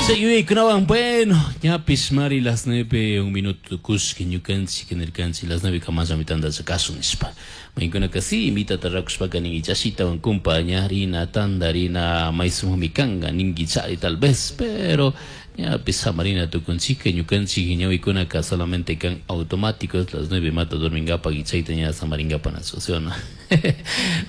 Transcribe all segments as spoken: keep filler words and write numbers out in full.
Yuyaykunawan, bueno, ñapish mari las nueve un minuto kushki ñukanchik nirkanchik las nueve kamallami tandalla kasun nishpa. Maykunaka si mitata rakushpaka ninki chashitawan kumpa ñarina tandarina maysumami kanka ninki chari tal vez, pero ñapish samarina tukunchika ñukanchik ñawikunaka solamente kan automáticos las nueve mata dormingapak y chayta ña samaringapak nachu, ¿sí o no?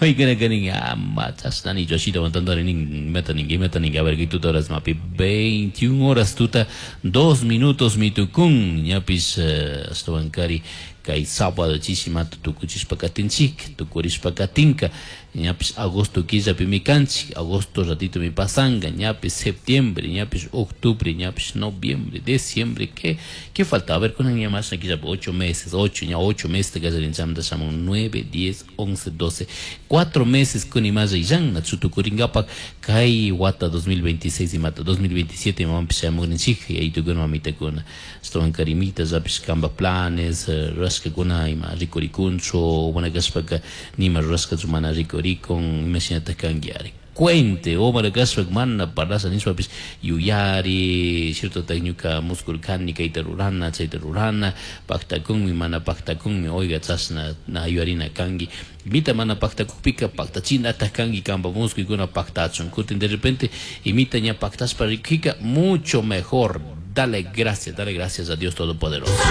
Maykunaka nin ama chashnani chashitawan tandari nin imata ninki imata ninki a ver kay tuta horas mapi veintiún horas tuta dos minutos mitukun ñapish uh, ashtawankari kay sábado chishimata tukuchishpa katinchik tukurishpa katinka ñapish agosto killapimi kanchik agosto ratitomi pasanka ñapish septiembre ñapish octubre ñapish noviembre diciembre ¿qué, qué falta? A ver kunan ña mashna killapi ocho meses ocho ña ocho meses kallarin shamun nueve diez once doce cuatro meses kunimalla illanna chutukurinkapak kay wata dos mil veintiséis imata dos mil veintisiete imamanpish shamugrinchik yaytukuna mamitakuna ashtawankari imita llapish kanpak planes rurashkakuna ima rikurikunchu mana kashpaka nima rurashkachu mana rikurikun imashinatak kanki ari cuente o kashpa mana parlasha nishpapish yuyari cierto tak ñuka muskurkani kayta rurana chayta rurana paktakunmi mana paktakunmi oiga chashna na yuyarina kanki imita mana paktakukpika paktachinatak kanki kanpa muskuykuna paktachun kutin de repente imita ña paktashpa rikika mucho mejor. Dale gracias, dale gracias a Dios Todopoderoso.